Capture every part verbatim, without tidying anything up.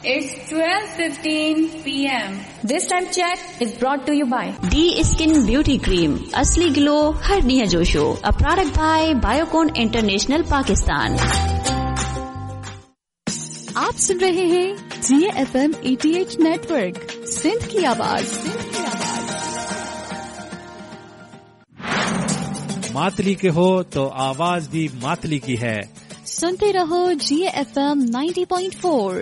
It's twelve fifteen P M. This time check is brought to you by D Skin Beauty Cream, असली glow हर ॾींहं जो show, a product by Biocon International Pakistan. आप सुन रहे हैं G F M A T H network, Sindh की आवाज। सिंध की आवाज। मातली के हो तो आवाज भी मातली की है। सुनते रहो G F M ninety point four.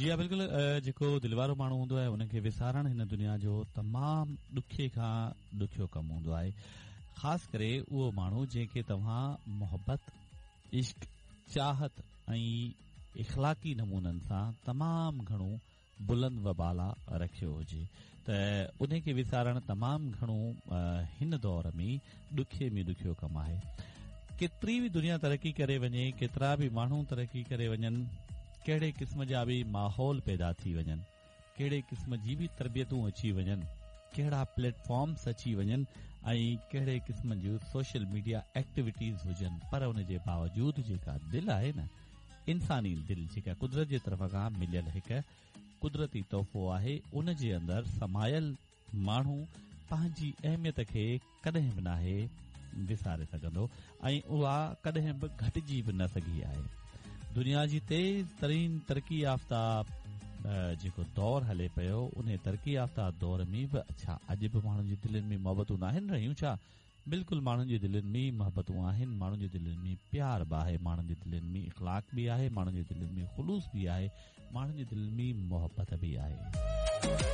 जी हा बिल्कुलु, जेको दिलि वारो माण्हू हूंदो आहे उनखे विसारणु हिन दुनिया जो तमामु ॾुखे खां ॾुखियो कमु हूंदो आहे। ख़ासि करे उहो माण्हू जंहिंखे तव्हां मोहबत, इश्क, चाहत ऐं इख़लाक़ी नमूननि सां तमामु घणो बुलंद व बाला रखियो हुजे त उनखे विसारणु तमामु घणो हिन दौर में ॾुखे में ॾुखियो कमु आहे। केतिरी बि दुनिया तरक़ी करे वञे, केतिरा बि माण्हू तरक़ी करे वञनि, कहिड़े क़िस्म जा बि माहौल पैदा थी वञनि, कहिड़े क़िस्म जी बि तरबियतूं अची वञनि, कहिड़ा प्लेटफॉर्म्स अची वञनि ऐं कहिड़े क़िस्म जूं सोशल मीडिया एक्टिविटीज़ हुजनि, पर उन जे बावजूद जेका दिलि आहे न, इंसानी दिलि जेका कुदरत जे तरफ़ खां मिलियल हिकु कुदरती तोहफ़ो आहे, उन जे अंदरि समायल माण्हू पंहिंजी अहमियत खे कॾहिं बि नाहे विसारे सघंदो ऐं उहा कॾहिं बि घटिजी बि न सघी आहे। दुनिया जी तेज़ तरीन तरक़ी याफ़्ता जेको दौर हले पियो, उन तरक़ी याफ़्ता दौर में बि छा अॼु बि माण्हुनि जी दिलनि में मोहबतूं नाहिनि रहियूं छा? बिल्कुलु माण्हुनि जी दिलनि में मोहबतूं आहिनि, माण्हुनि जी दिलनि में प्यार बि आहे, माण्हुनि जी दिलनि में इख़लाक़ बि आहे, माण्हुनि जी दिलनि में ख़ुलूस बि आहे, माण्हुनि जी दिलनि में मोहबत बि आहे।